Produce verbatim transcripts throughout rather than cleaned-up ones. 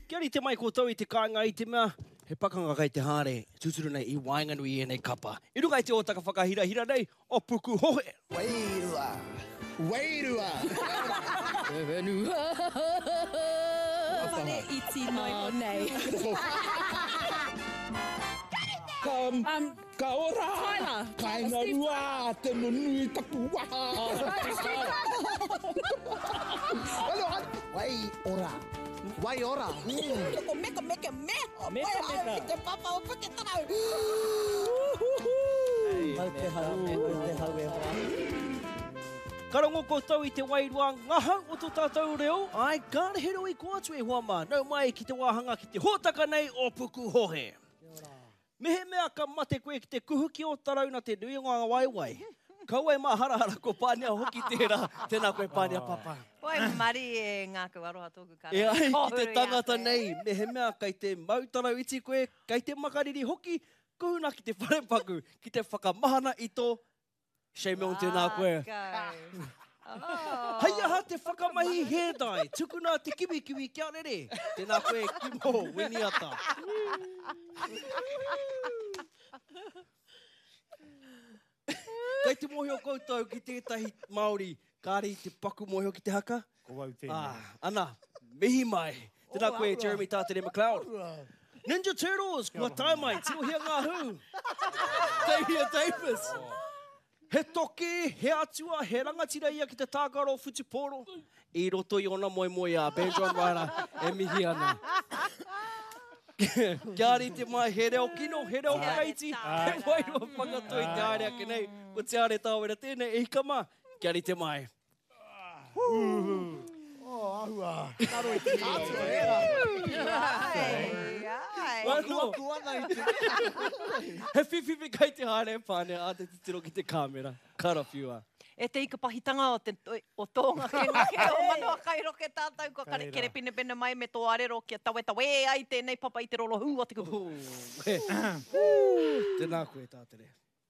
Kia rite mai koutou i te kāinga i te mea, he pakanga kei te haere, tūturu nei i waenganui i ēnei kapa. I runga i te hōtaka whakahirahira nei o Pukuhohe. Wairua! Wairua! Te whenua! Whare iti noa iho nei. Ka, Um, ka ora! Tyler. Kainga rua, te nunui taku waha! Wai ora. Wai ora. Ko meka meka me. Meka meka. Te papa o Puketarau. Mau te hau, mau te hau e hoa. Ka rongo koutou i te wairua ngahau o tō tātou reo, ai, kāre he reo i kō atu e hoa mā, nau mai ki te wāhanga ki te hōtaka nei o Pukuhohe. Mehemea ka mate koe ki te kuhu ki o tarauna te nui o ngā waewae. Kaua e māharahara ko Pānia hoki tērā. Tēnā koe Pānia papa. Oi, mari e ngākau aroha tōku kara. E ai ki te Kōhuru i a tangata koe. nei, mehemea kei te mau tarau iti koe, kei te makariri hoki, kuhuna ki te wharepaku, ki te whakamahana i tō Shane Milne, tēnā koe. Ngākau. Oh. Hei aha te whakamahi hair dye, tukuna te kiwikiwi kia rere. Tēnā koe, Kimo, Winiata. Kei te mōhio koutou ki tētahi Māori, kāre i te paku mōhio ki te haka? Ko au tēnei. Ah, ana, mihi mai. Tēnā koe, Jeremy Tātere McLeod. Ninja Turtles, kua tae mai, tirohia ngā hū. Tavia Davis. He toki, he atua, he rangatira ia ki te tākaro whutupōro. I roto i ona moemoeā, Benjamin Ryder e mihi ana. Kia rite mai, he reo kino, he reo whakaiti, he wairua whakatoi te haere ake nei. Ko Te Are Tāwera tēnei, e hika mā, kia rite mai. Oh, ahua. Karo i te kātua e rā. Ai, ai. Wano, Aku ana i te he whiwhiwhi kai te haere pāne a te titiro ki te kāmera. Karawhiua. E te ikapahitanga o te o tō ngakengake o manawa kairoke tātou kua kare kere pinepine mai me tō arero kia tawetawe ai tēnei papa i te rorohū o te kupu. Tēnā koe, Tātere.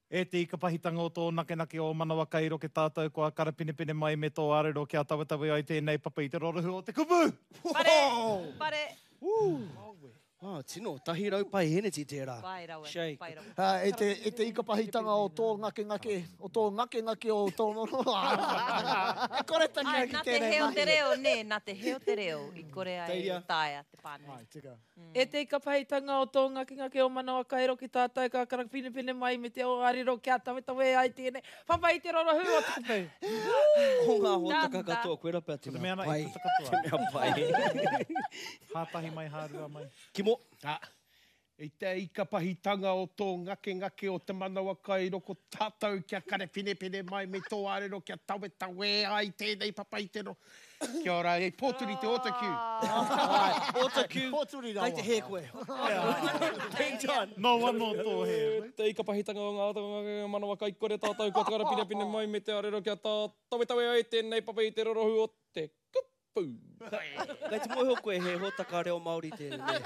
E te ikapahitanga o tō nakenake o manawa kairoke tātou kua karapinepine mai me tō arero kia tawetawe ai tēnei papa i te rorohū o te kupu! Pare, pare. Ah, tino, tahi rau pai heneti tērā. Pai rawa, Shake. pai rawa. Ah, e te, e te ikapahitanga o tō ngakengake, o tō ngakengake o tō E kore tangi Ai, ai ki nā te tēnei heo te mahi. reo, nē, nā te heo te reo i kore ai Teiria. taea te pānui. Ai, tika. E te ikapahitanga o tō ngakengake o manawa kairo ki tātou ka karapinepine mai me te o arero kia tawetawe ai tēnei papa i te rorohū o te kupu. O ngā hōtaka Tā, tā. katoa, koe rapea te Ko te mea mea ana pai. i puta katoa. Te mea pai. Hātahi mai, hārua mai. Kimo. Ah, i te ikapahitanga o tō ngakengake o te manawa kairoko tātou kia karepinepine mai me tō arero kia tawetawe ai tēnei papa i te ro. Kia ora, e pōturi te autocue. Autocue, Pōturi rawa. kei te hē koe. Ben John. No anō tō hē. Te ikapahitanga o ngā ngā manawa kaikore tātou kua karapinepine mai me te arero kia tā tawetawe ai tēnei papa i te rorohū o te kupu. Kei te mōhio koe he hōtaka reo Māori tēnei.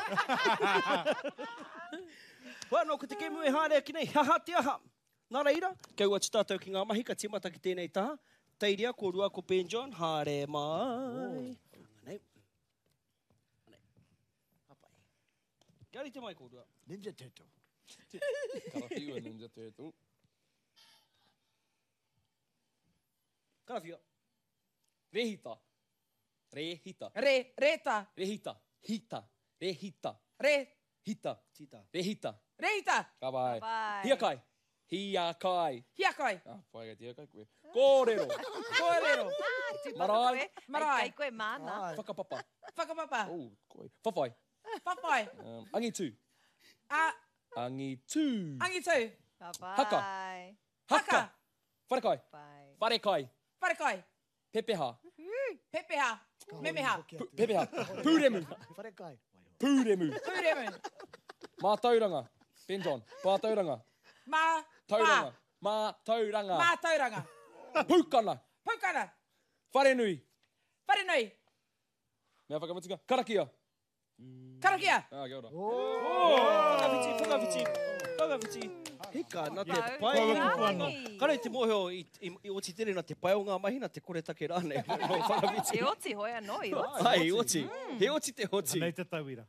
Hoi anō, ko te kēmu e haere ake nei, he aha te aha. Nā reira, kia ua atu tātou ki ngā mahi, ka tīmata ki tēnei taha. Teiria, ko Rua, ko Ben John, haere mai. Anei. Anei. Hapai. Kia rite mai, ko Rua. Ninja Turtle. Karawhiua Ninja Turtle. Karawhiua. Rehita. Rehita. Re, reta, Rehita. Hita. Rehita. re, Hita. Tita. Rehita. reita, Ka pai. Pai. Hiakai. Hiakai. hiakai, Ah, pai kei te hiakai koe. Kōrero. kōrero, Tūpato Marae. koe. Marae. Ai, kei koe māna. Ai. Whakapapa. whakapapa, Oh, koe. Whawhai. whawhai, Um, angitu. a, Angitu. angitu, Ka pai. Haka. haka, Wharekai. Pai. Wharekai. wharekai, Pepeha. pepeha, memeha, Pu- Pepeha. Pūremu. Wharekai. Pūremu. pūremu, Mātauranga. Ben John. Mātauranga. mā, Tauranga. Mātauranga. mātauranga, Pūkana. pūkana, Wharenui. wharenui, Mea whakamutunga. Karakia. karakia. Ah, kia ora. Whakawhiti, whakawhiti, whakawhiti. Hika, nā te Tau pai. Kua kupu anō. Kare te mōhio i, i, i oti tere nā te pai o ngā mahi, nā te koretake rānei. No whakawhiti. I oti hoi anō, i oti. Ai, i oti. He oti te oti. Anei te tauira.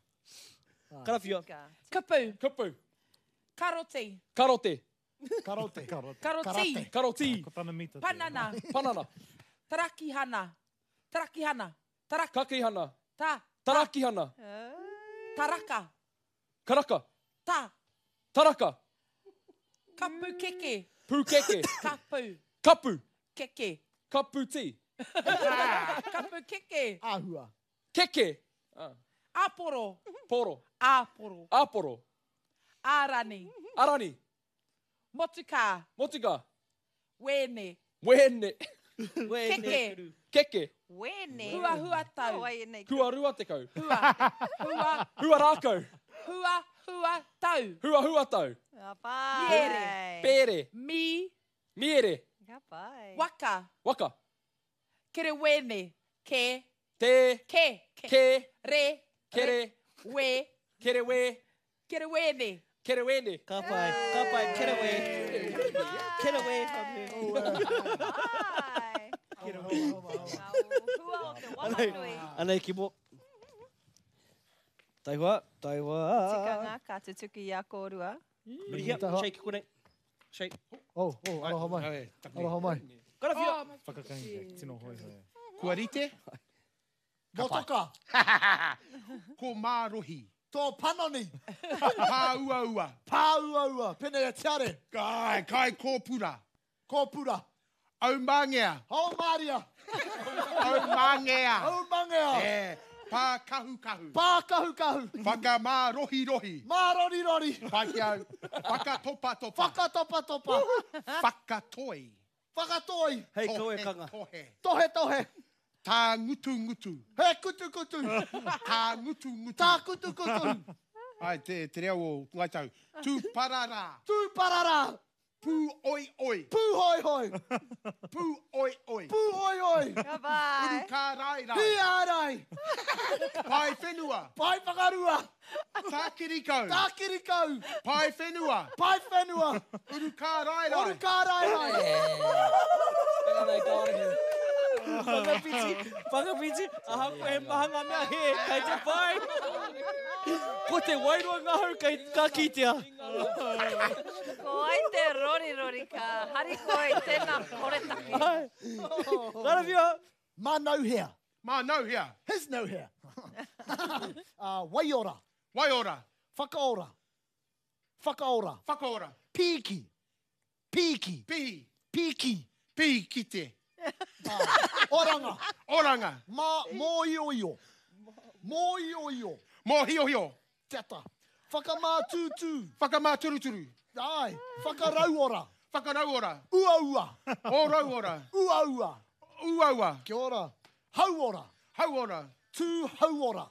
Karawhia. Kupu. Kupu. Karoti. Karote. Karote. Karote. Karoti. Karate. Karoti. Ko tana mita. tērā. Panana. Panana. Tarakihana. Tarakihana. Tarak. Kakihana. Ta. Tarakihana. Taraka. Karaka. Ta. Taraka. Kapu keke. Pūkeke. Kapu. Kapu. Keke. Kapu tī. Kapu keke. Āhua. Keke. Ah. Aporo. Poro. Aporo. Aporo. Arani. Arani. Motuka. Motuka. Wene. Wene. Keke. Keke. Wene. Hua hua tau. Wai nei. Hua rua tekau. Hua. Hua. Hua rākau. Hua hua tau. Hua hua tau. Ka pai. Miere. Pere. Mi. Miere. Ka pai. Waka. Waka. Kerewene. Ke. Te. Ke. Ke. Ke. Re. Kere. We. Kerewe. Kerewene. Kerewene. Ka pai, ka pai, kerewe. Kerewe. Pai. Ngā hua o te wahanui. Anei ki mo. Taiwa, taiwa. Tikanga ka tutuki i a kōrua. Murihia, shake konei. Shake. Oh, oh, aroha mai. Aroha mai. Karawhia. Whakakainga, tino hoi hoi. Kua rite? Motoka. Ko mārohi. Tō panoni. Pāuaua. Pāuaua. Pene e tiare. Kai, kai kōpura. Kōpura. Aumangea. Haumaria. Aumangea. Aumangea. E, pākahukahu. Pākahukahu. Whakamārohirohi. Mārorirori. Pai ki au. Whakatopatopa. Whakatopatopa. Whakatoi. Whakatoi. Hei Tohe, kauekanga. Tohe. Tohe tohe. Tā ngutu ngutu. He kutu kutu. Tā ngutu ngutu. Tā kutu kutu. Ai, te, te reo o Ngai Tahu. Tūpararā. Tūpararā. Pū oi oi. Pūhoi hoi. Pū oi oi. Pūhoi hoi. Ka pai. Urukārairai. Hiarai. Pai whenua. Pai whakarua. Tākirikau. Tākirikau. Pai whenua. Pai whenua. Urukārairai. Urukārairai. Anei kārehe. Whakawhiti, whakawhiti, ahakoa he maha ngā mea he, kei te pai. Ko te wairua ngahau kei ka kitea. Ko ai te rori rori ka harikoi tēnā koretake. Karawhia. Mā nauhea. Mā nauhea. His nauhea. uh, waiora. Waiora. Whakaora. Whakaora. Whakaora. Pīki. Pīki. Pī. Pīki. Pī kite. Oranga. Oranga. Mā mōioio. Mōioio. Mōhiohio. Teta. Whakamātūtū. Whakamāturuturu. Ai. Whakarauora. Whakarauora. Uaua. Ōrauora. Uaua. Uaua. Kia ora. Hauora. Hauora. Tū hauora.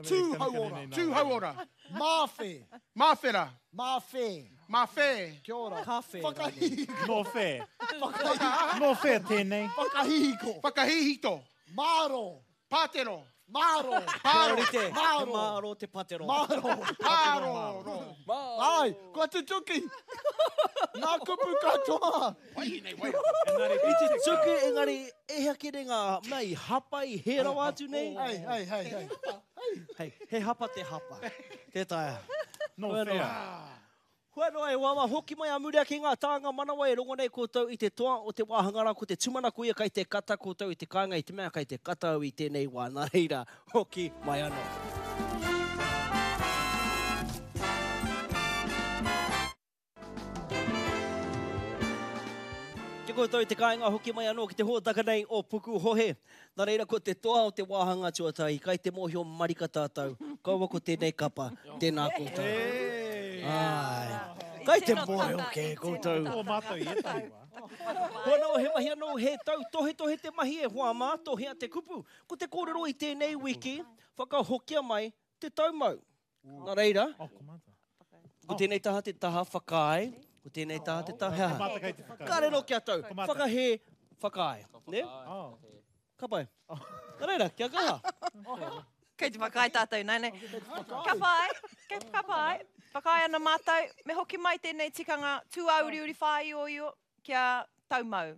Tū hauora. Tū hauora. Māwhe. Māwhera. Māwhe. Māwhē. Kia ora. Ka whē. Whakahihiko. No whē. Whakahihiko. No whē tēnei. Whakahihiko. Whakahihito. Māro. Pātero. Māro. Pāro. Te Māro. māro te patero. Māro. Pāroro. Ai, kua tutuki. Ngā kupu katoa. Wahine, wai. I te tuku, engari, e hea kere ngā mea i hapa i he rawa atu nei. Hei, hei, hei, hei. Hei, he hapa te hapa. Tē taea. No Hua whea. noa. Hua noa e wawa hoki mai a muri ake ngā tānga manawa e rongo nei koutou i te toa o te wāhanga rā ko te tūmanako ia kai te kata koutou i te kāinga i te mea kai te kata au i tēnei wā. Nā reira, hoki mai anō. Kia koutou i te kāinga hoki mai anō ki te hōtaka nei o Pukuhohe. Nā reira ko te toa o te wāhanga tuatahi, kai te mōhio marika tātou. Kaua ko tēnei kapa, tēnā koutou. Ai. Kai te mōhio ke koutou. Ko mātou i ētahi wā. Hua nō, he mahi anō, he tau tohetohe te mahi e hoa mā, tohea te kupu. Ko te kōrero i tēnei wiki, whakahokia mai te taumau. Nā reira, Oh, ko mātou. ko tēnei taha te taha whakaae, ko tēnei taha te taha Ko mātou kei te whakaae. Kāre no kia tau, Ko mātou. whakahē, whakaae. Ne? Oh. Ka pai. Nā reira, kia kaha. Kei te whakaae tātou, nei nei. Ka pai, kei ka pai. Whakaae ana mātou, me hoki mai tēnei tikanga tūāuriuri whāioio kia taumau.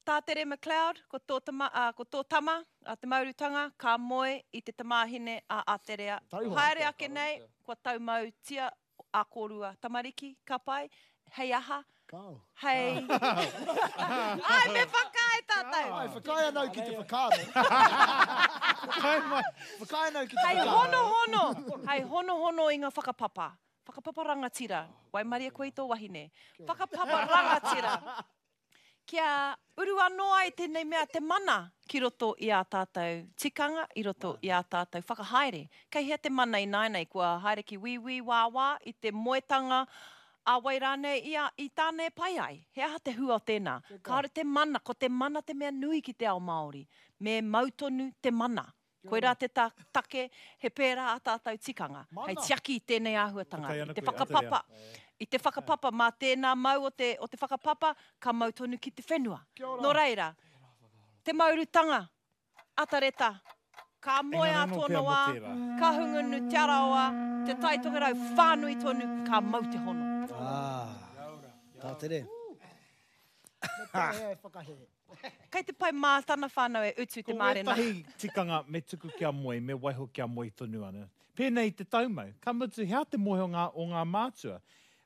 Tātere McLeod, ko tō tama, uh, ko tō tama, a te maurutanga, ka moe i te tamāhine a Aterea. Tauhoa. Haere ake nei, kua taumautia a kōrua tamariki, ka pai, hei aha, Kao. hei... Ai, me whakaae tātou! Ai, whakaae anau ki te whakaaro. Whakaae anau ki te Hei whakaaro. hono hono, hei hono hono i ngā whakapapa. Whakapapa rangatira, waimaria koe i tō wahine. Whakapapa rangatira. Kia uru anō ai tēnei mea te mana ki roto i ā tātou tikanga, i roto i ā tātou whakahaere. Kei hea te mana i nāianei, kua haere ki wīwī wāwā i te moetanga a wai rānei i, a, i tāna e pai ai. He aha te hua o tēnā? Kāore te mana, ko te mana te mea nui ki te ao Māori. Me mau tonu te mana. Koirā te ta take, he pērā ā tātou tikanga. Hei Mana. tiaki i tēnei āhuatanga, Whakaae i ana te koe, whakapapa. I te whakapapa, mā tēnā mau o te, o te whakapapa, ka mau tonu ki te whenua. Kia ora. Nō reira, te maurutanga, atareta, ka moe Engari a anō pea tōna mō wā, tērā. ka hungunu te araoa, te tai tokerau whānui tonu, ka mau te hono. Ah, tātere. Me pēhea e whakahē. Kei te pai mā tana whānau e utu te Ko mārena. wētahi tikanga me tuku kia moe, me waiho kia moe tonu ana. Pēnei te taumau, ka mutu hea te mōhio ngā, o ngā mātua.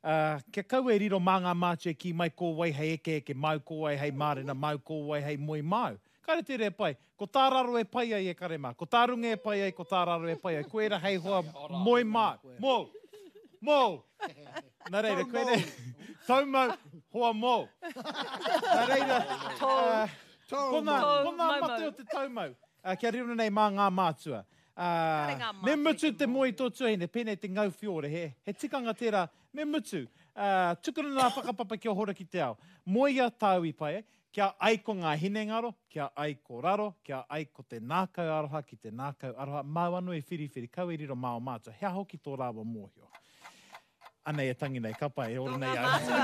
Uh, kia kau e riro mā ngā mātua ki mai ko wai hei eke eke mau, ko wai hei mārena mau, ko wai hei moe mau. Kāre tērā e pai. Ko tā raro e pai ai e kare mā. Ko tā runga e pai ai, ko tā raro e pai ai. Koera hei hoa moe mā. Mō. Mō. Nā reira, koe re... Taumau, hoa mō. Nā reira, uh, ko ngā, Tō ko ngā maumau. mate o te taumau. Uh, kia riro nei mā ngā mātua. Kāre Uh, ngā me mātua i mutu te te moe i tō tuahine, pēnei te ngau whiore, he, he tikanga tērā, me mutu. Uh, tukuna ngā whakapapa kia hora ki te ao. Moea tāu i pai ai, kia ai ko ngā hinengaro, kia ai ko raro, kia ai ko te nākau aroha ki te nākau aroha, māu anō e whiriwhiri, kau e riro mā o mātua, hea hoki tō rāua mōhio. Anei e tangi nei, ka pai, e ora Tō nei ngā au. mātua,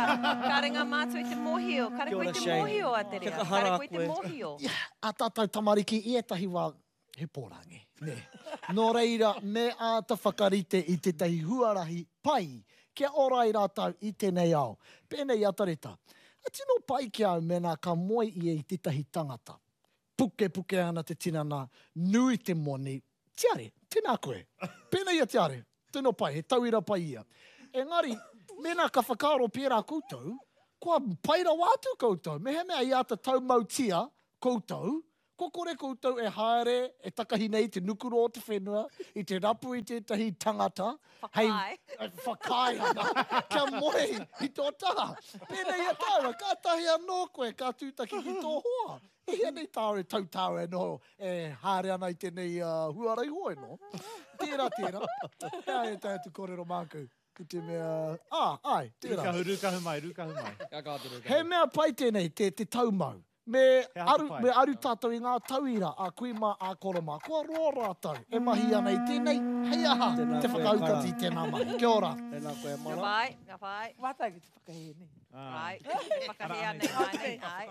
kāre ngā mātua i te mōhio, kāre Kia koe ora, i te Shane. mōhio a te Kia rea, kahara kāre koe i te koe. mōhio. A tātou tamariki i ētahi wā, he pōrangi. Nē. Nō reira, me āta whakarite i tētahi huarahi pai kia ora ai rātou i tēnei ao. Pēnei atareta. A tino pai ki au mēnā ka moe ia i tētahi tangata. Puke puke ana te tinana, nui te moni. Tiare, tēnā koe. Pēnei a tiare, tino pai, he tauira pai ia. Engari, mēnā ka whakaaro pērā koutou, kua pai rawa atu koutou. Mehemea i āta taumautia koutou, ko kore koutou e haere, e takahi nei te nukuro o te whenua, i te rapu i tētahi tangata, hei Whakaae. e whakaae ana, kia moe i tō taha. Pēnei a tāua, ka tahi anō koe, ka tūtaki ki tō hoa. E hea nei tāua e tau tāua e noho, e haere ana i tēnei uh, huarahi hoi no. Tērā, tērā. Hea e tae atu kōrero māku. I te mea, ah, ai, tērā. Rūkahu, rūkahu mai, rūkahu mai. Kia kā te rūkahu. He mea pai tēnei, te, te taumau. Me He aha te aru, pai? me aru tātou i ngā tauira a kui mā a koro mā. Kua roa rātou e mahi ana i tēnei, hei aha Tēnā te koe, whakautati Kara. i tēnā mahi. Kia ora. Tēnā koe, Ka Mara. pai, ka pai. Mātou ki te whakahē nei. Ah, Ai, te whakahē anei, ai, ai.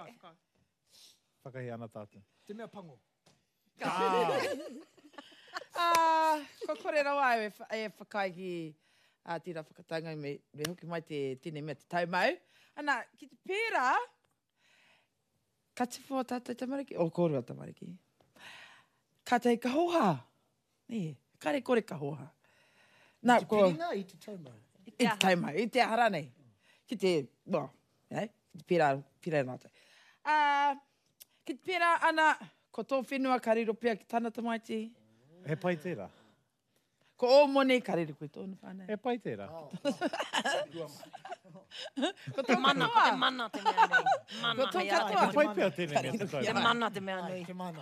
whakahē ana tātou. Te mea pango. Ah, ko kore rawa au e, wha- e whakaae ki a tērā whakataunga me, me hoki mai te tēnei mea te taumau. Ana, ki te pērā, ka tipu o tātou tamariki, o kōrua tamariki, ka tei ka hoha. Nē, kare kore ka hoha. Nā, Te ko, piringa i te taumau. i te taumau, i te aha rānei. Ki te, well, eh, ki te pērā, pērā rātou. Ah, ki te pērā ana, ko tō whenua ka riro pea ki tana tamaiti, He pai tērā. Ko ō moni ka riro koe tōna whānau. He pai tērā. Ko Te tō mana, ko te katoa. mana te mea nui. Mana, Ko tō hei ara katoa. He pai pea tēnei mea te Te taumau. mana te mea Ai, nui. te mana.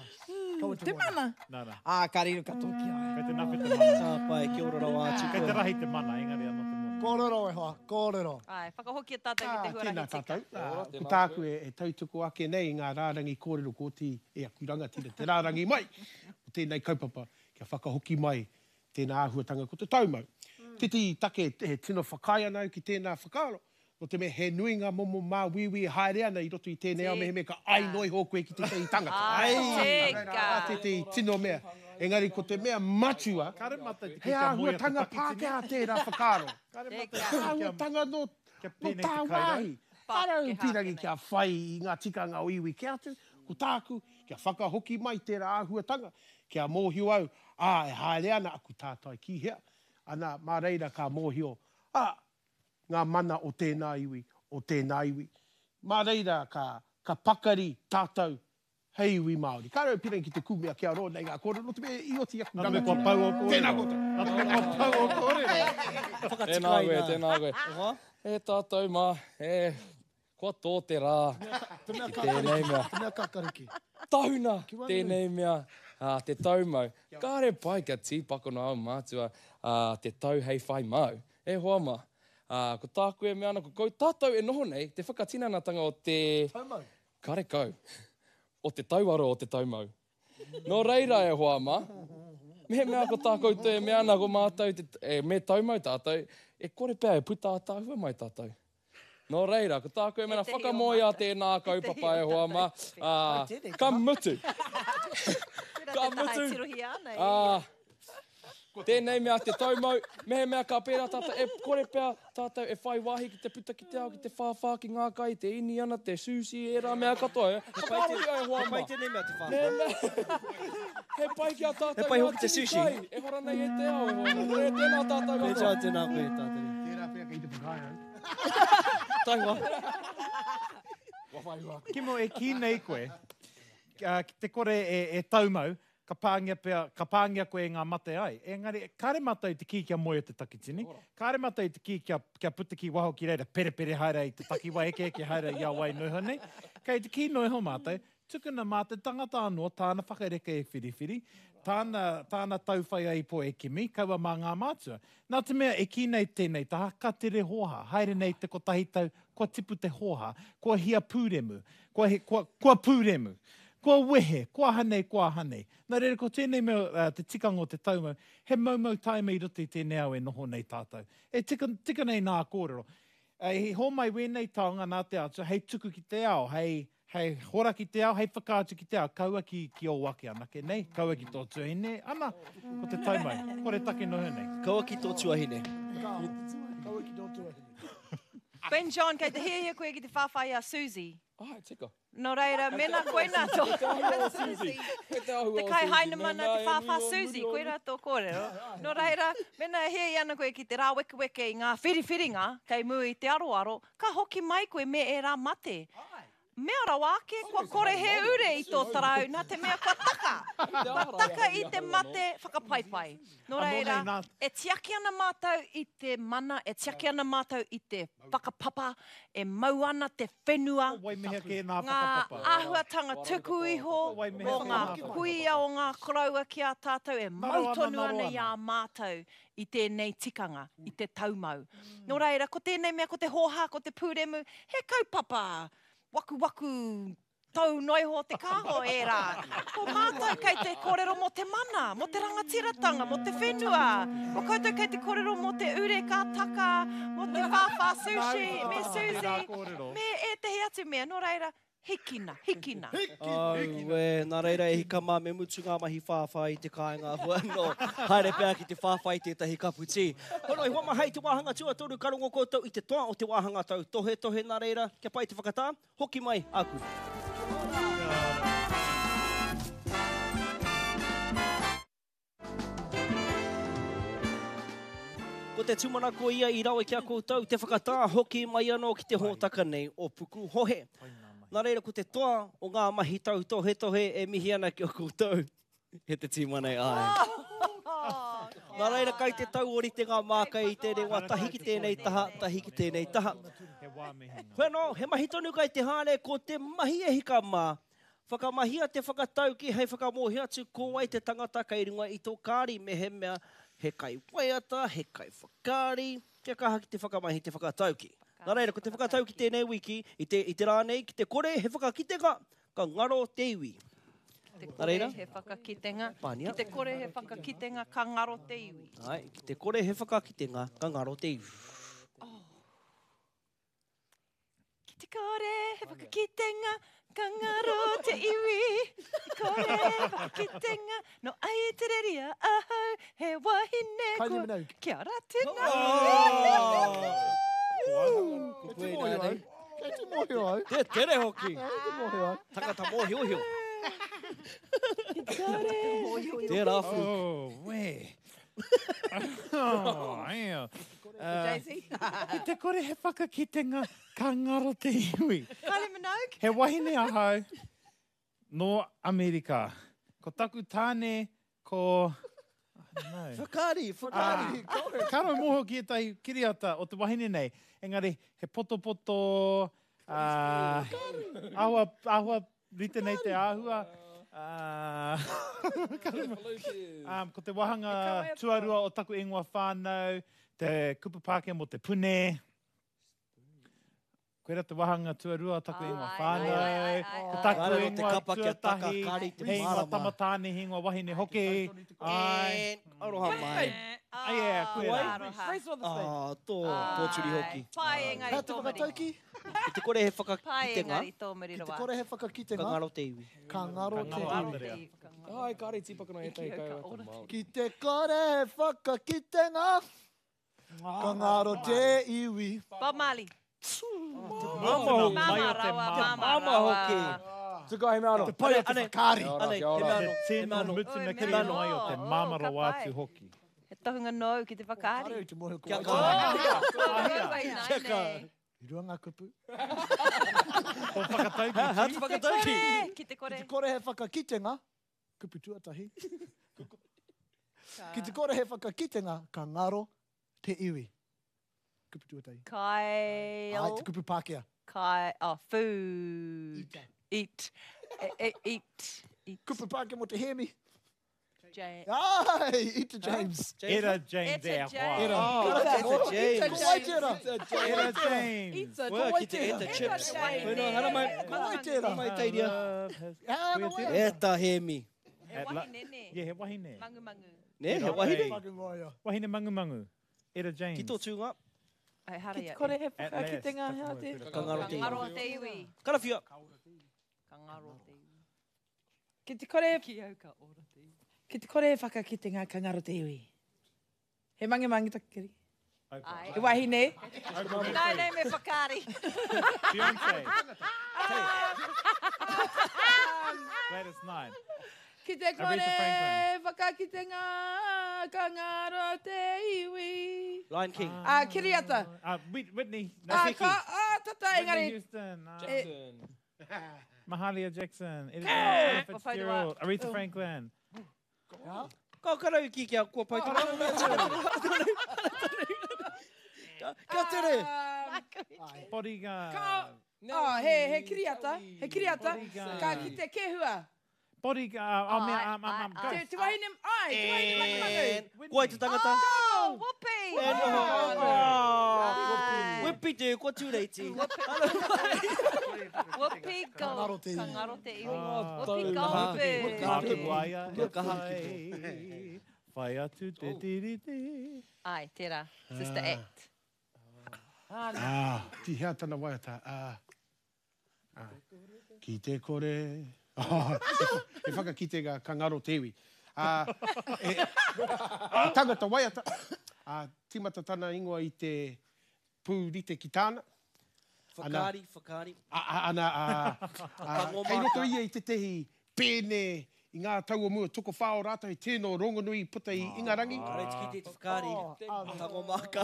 Kaua te Te moni. mana. Nā, nā. Ā, ka riro katoa ki a ia. Kei te nawhe te mana. Ka pai, kia ora rawa atu Kei te koe. rahi te mana, engari anō te moni. Kōrero e hoa, kōrero. Ai, whakahokia tātou ki te Ah, huarahi tēnā tika. tātou. Ah, Ko tāku e, e tautuku ake nei i ngā rārangi kōrero kōti e aku rangatira, te rārangi mai o tēnei kaupapa kia whakahoki mai tēnā āhuatanga ko te taumau. Mm. Titi take e tino whakaae ana au ki tēnā whakaaro, no te mea he nui ngā momo māuiui e haere ana i roto i tēnei ao mehemea ka ai noi ho koe ki tētahi tangata. Ai, Ai, tika. Tētahi tino mea. Engari ko te mea matua, he āhuatanga Pākehā tērā whakaaro. He āhuatanga nō, nō tāwāhi. Kāre au pīrangi kia whai i ngā tikanga o iwi ki atu, ko tāku, kia whakahoki mai tērā āhuatanga, kia mōhio au, ā, e haere ana aku tātai ki hea, ana, mā reira ka mōhio, ā, ngā mana o tēnā iwi, o tēnā iwi. Mā reira ka, ka pakari tātou hei iwi Māori. Kāre au pīrangi ki te kūmea kia roa nei ngā kōrero, nō te mea i oti aku Nā te mea kua pau o kōrero. Tēnā koutou. Nā te mea kua pau o kōrero. Tēnā koe, tēnā koe. E tātou mā, e, kua tō te rā Te mea ki tēnei mea. Te mea kakariki. Tahuna tēnei mea, ā, te taumau. Kāre pai kia tīpakona au mātua, ā, te tau hei whai māu. E hoa mā, ā, ko tāku e mea ana, ko kou tātou e noho nei, te whakatinanatanga o te... Taumau. Karekau. O te tauaro o te taumau. Nō reira e hoa mā, mehemea ko tā koutou e mea ana ko mātou, te, e, me taumau tātou, e kore pea e puta ātaahua mai tātou. Nō reira, ko tāku e mea ana, whakamoea tēnā kaupapa e hoa mā, ā, ka mutu. Ka mutu. Ā, tēnei mea te taumau, mehemea ka pērā tātou, e kore pea tātou e whai wāhi ki te puta ki te ao, ki te whāwhā, ki ngā kai, te iniana, te sushi, ērā mea katoa. E. Whakaarohia e hoa He mā. pai tēnei mea te whāwhā. He pai ki a tātou He pai ngā hoki te tini sushi. kai, e hora nei e te ao, e hoa mā. E, tēnā tātou katoa. Tēnā, tēnā koe, tātere. Tērā pea kei te whakaae au. Taihoa. Kimo, e kī nei koe, ki te kore e, e taumau, ka pāngia pea, ka pāngia koe e ngā mate ai. Engari, kāre mātou i te kī kia moe o te takitini, kāre mātou i te kī kia, kia puta ki waho ki reira, perepere haere i te takiwā, eke eke haere i a wai noiho nei. Kei te kī noiho mātou, tukuna mā te tangata anō, tāna whakareke e whiriwhiri, tāna, tāna tauwhai ai po e kimi, kaua mā ngā mātua. Nā te mea e kī nei tēnei taha, ka tere hōhā, haere nei te kotahi tau, kua tipu te hōhā, kua hia pūremu, kua, he, kua, kua pūremu, kua wehe, kua aha nei, kua aha nei. Nā reira, ko tēnei mea, uh, te tikanga o te taumau, he maumau taima i roto i tēnei ao e noho nei tātou. E tika, tika nei nā kōrero. Uh, he hōmai wēnei taonga nā te atua, hei tuku ki te ao, hei, hei hora ki te ao, hei whakaatu ki te ao, kaua ki, ki ō ake anake nei, kaua ki tō tuahine, ana, ko te taumau, kore take noho nei. Kaua ki tō tuahine. Kaua ki tō tuahine. Ben John, kei te hiahia koe ki te whāwhai a Susie. Ai, tika. Nō reira, mena koina tō Susie. Te kai hainamana te whāwhā Susie, koira tō kōrero. Nō reira, mena e hiahia ana koe ki te rāwekeweke i ngā whiriwhiringa, kei mua i te aroaro, ka hoki mai koe me e rā mate. Mea rawa ake, kua kore he ure i tō tarau, nā te mea kua taka. Kua taka i te mate whakapaipai. Nō reira, e tiaki ana mātou i te mana, e tiaki ana mātou i te whakapapa, e mau ana te whenua, ngā āhuatanga tuku iho, o ngā kuia, o ngā koroua ki a tātou, e mau tonu ana i a mātou i tēnei tikanga, i te taumau. Nō reira, ko tēnei mea, ko te hōhā, ko te pūremu, he kaupapa, waku waku tau noiho te kāho e rā. Ko mātou kei te kōrero mō te mana, mō te rangatiratanga, mō te whenua. Ko koutou kei te kōrero mō te ure ka taka, mō te whāwhā sushi, me Susie, me ētehi atu mea. Nō reira, hikina, hikina. Au, e, nā reira e hika mā me mutu ngā mahi whāwhā i te kāinga hua no. Haere pea ki te whāwhā i tētahi kapu tī. Hono, i hoa mahei te wāhanga tuatoru ka rongo koutou i te toa o te wāhanga tau tohe tohe nā reira, kia pai te whakatā, hoki mai āku. Ko te tūmanako ia i rawe ki a koutou, te whakatā hoki mai anō ki te hōtaka nei o Pukuhohe. Nā reira, ko te toa o ngā mahi tau tohe tohe e mihi ana ki o koutou. He te tīma nei, ai. Nā reira, kai te tau orite ngā mākai i te rewa, tahi ki tēnei taha, tahi ki tēnei taha. Hoi anō, he mahi tonu kai te haere, ko te mahi e hika mā. Whakamahia te whakatauki hei whakamōhio atu ko wai te tangata kei runga i tō kāri mehemea he kai waiata, he kai whakaari, kia kaha ki te whakamahi te whakatauki. Nā reira, ko te whakatauki tēnei wiki, i te, i te rā nei, ki te kore he whakakitenga, ka ngaro te iwi. Te Nā kore reira? he whakakitenga, Pānia. ki te kore he whakakitenga, ka ngaro te iwi. Ai, ki te kore he whakakitenga, ka ngaro te iwi. Ki te kore he whakakitenga, Ka ngaro te iwi, kore whakakitenga, no Aitereria ahau, he wahine Kylie kua. Minogue. Kia ora tēnā. Kei te mōhio au. Kei te mōhio au. Te tere hoki. Kei te mōhio au. Tangata mōhiohio. Tērā whū. Oh, wē. Oh, yeah. Uh, J C? Ki te kore he whakakitenga, ka ngaro te iwi. Kylie Minogue? He wahine ahau nō Amerika. Ko taku tāne ko... I don't know. Whakaari, whakaari. Ah, ka rau mōhio ki ētahi kiriata o te wahine nei. Engari, he potopoto, uh, āhua, āhua rite nei te āhua. Uh, um, ko te wāhanga tuarua o taku ingoa whānau, te kupu Pākehā mō te pune. Koira te wāhanga tuarua o taku ingoa whānau. Ko taku Kāre no te ingoa kapa kia taka, tuatahi, kāre i te he ingoa mārama. tama tāne, he ingoa wahine hoki. Ai. Aroha mai. Ai, yeah, koe rā. Ah, tō pōturi hoki. Pai engari Hea te tō muri. whakatauki? Ki te kore he Pai whakakitenga, engari tō muri Ki te rawa. kore he ka whakakitenga, ngaro te iwi. ka ngaro te iwi. Ai, kāre tīpakana ētahi kaiwaiata Māori. Ki te kore he whakakitenga, ka ngaro te iwi. Bob Marley. Māma hoki. Māma rawa, māma Māma rawa. hoki. Tuka he mea anō. Te pai o te whakaari. Kia ora, Anei, kia ora. he mea anō. Te He tino mea anō. mutunga Oi, kiri mea mai o te anō. māma Oh, ka rawa pai. atu hoki. He tohunga nōu ki te whakaari. Kāre te mōhio ko Kia wai kaha. tēnā. Kia kaha. I rua ngā kupu. Tō whakatauki, Ha, ha, Chief. te whakatauki. Ki te kore. Ki te kore he whakakitenga, kupu tuatahi. Ki te kore he whakakitenga, ka ngaro te iwi. Kupu tuatahi. Kai. Ai, te kupu Pākehā. Kai. Oh, food. Eat. Eat. E, e, eat. Eat. Kupu Pākehā mō te hēmi. J. Ai, Ita James. Era James Eta e a hoa. James. Era. Oh, Eta James. Ko wai tērā? Era James. Ita Wā, ki te Eta chips. James. Koe hara mai. Ko wai tērā? Hara mai teiria. Ah, no wai. Eta hēmi. He wahine, ne? Yeah, he wahine. Mangu mangu. Ne, he wahine. Fucking warrior. Wahine mangu mangu. Era James. Ki tō tūnga, Ai, hara Ki te ia. kore he At last, whakakitenga, taku hea moe te. pera. ka ngaro te Ka ngaro iwi. te iwi. Karawhia. Ka ngaro te iwi. Ki te kore, Ki au ka ora te iwi. ki te kore he whakakitenga, ka ngaro te iwi. He mange mange taku kiri. Ai. He wahine. Nai nei me whakaari. Beyonce. Gladys Knight. Ki te kore Aretha Franklin. whakakitenga, ka ngaro te iwi. Lion King. Ah, Kiriata. Uh, Whit- Whitney. No, Ah, Vicky. ka, ah, tata, Whitney engari. Houston. Uh, Jackson. Mahalia Jackson. Edith Kua Fitzgerald. Aretha Franklin. Ka karau ki kia kua pai tō. Kia tere. Um, Bodyguard. Ka, oh, he, he kiriata, he kiriata. Bodyguard. Ka ki te kehua. Bodyguard. Oh, man, Ai, um, um, um, ai, Te, Ghost. te wahine, ai, te wahine mangu mangu. Ko ai te tangata. Oh, whoopee. E noho. Ai. Whippi te, kua tūreiti. Whoopee Ka ngaro gold. te iwi. Ka ngaro te iwi. Ah. Whoopee Goldberg. Māku waia e Kaha. whai. Whai atu te tiriti. Ai, tērā. Sister Act. Ah, ti hea tana waiata. Ah. Ah. Ki te kore. Oh, e whakakitenga ka ngaro te iwi. Ah, e, tangata waiata. Ah, timata tana ingoa i te pūrite ki tāna. Whakaari, whakaari. A, a, ana, a, a, Tango kei roto māka. ia i tētehi pēne i ngā tau o mua tokowhā o rātou i tēnō rongonui puta i Ingarangi. Kāre tiki te whakaari. Tango māka.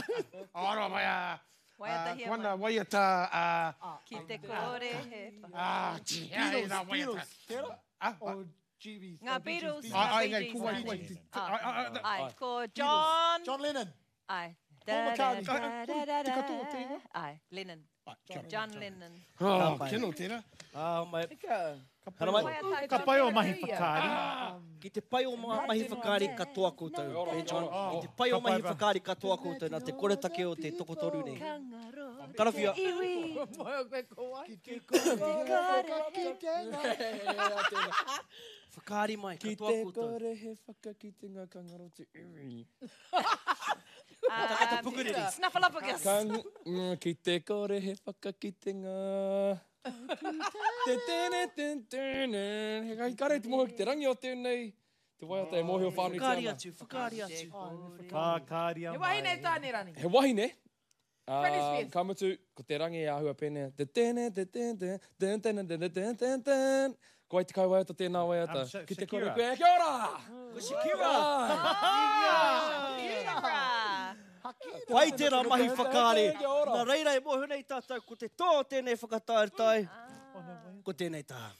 Ora mai a, Waiatahia ko ana waiata, a, Ki te kore he whaka. a, ti hea e rā waiata. Beatles. Tērā? Ah, O G B. Ngā Beatles. Ai, ai, Ngā ngai, Bee ko wai, Gees. ko wai. ti- Ah. ai, ai, ai, Ai, ko John. John Lennon. Ai. Paul McCartney. Da, da, da, da, Te katoa te ingoa? Ai, Lennon. ai, kia ora. John Lennon. Oh, kino tērā. Ah, mai. Ika. Hara mai. Ka pai o mahi whakaari. Ki te pai o ngā mahi whakaari katoa koutou. E John, ki te pai o Ka pai mahi ba. whakaari katoa koutou nā te koretake o te tokotoru nei. Ka ngaro Karawhia. te iwi. Moe koe ko wai. Ki te kore whakakitenga. Whakaari mai, Ki katoa te koutou. kore he whakakitenga ka ngaro te iwi. Um, pukuriri. Snuffleupagus. Ka, mm, ki te kore he whakakitenga. Te tene ten tene. He kai kare te mōhio ki te rangi o tēnei. Te waiata e mōhio whānuitia Whakaari ana. atu, whakaari atu. Ka kāria He wahine tāne rani. He wahine. Britney Uh, Spears. ka mutu, ko te rangi e āhua pēnei. Te tene, te ten, ten, ten, ten, ten, ten, ten, ten. Ko ai te kai waiata tēnā waiata. Um, Sha- Ki te kore Shakira. koe, kia ora! Ko Shakira! Shakira! Pai tērā mahi whakaari. Kia ora. Nā reira e mōhio nei tātou, ko te tō o tēnei whakataetae, ko tēnei taha.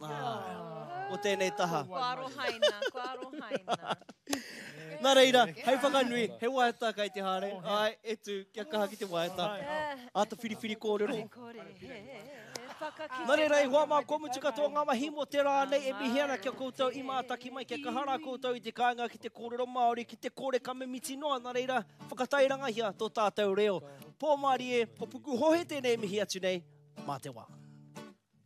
Ah, Ko tēnei taha. Ko arohaina, ko arohaina. Nā reira, hei whakanui, he waiata kai te haere. Ai, e tū, kia kaha ki te waiata. Āta whiriwhiri kōrero. Kore he, whakakite. Nā reira, e hoa mā, kua mutu katoa ngā mahi mō te rā nei e mihi ana kia koutou i mātaki mai, kia kaha rā koutou i te kāinga ki te kōrero Māori, ki te kore ka mimiti noa. Nā reira, whakatairangahia tō tātou reo. Pō mārie, ko Pukuhohe tēnei mihi atu nei, mā te wā.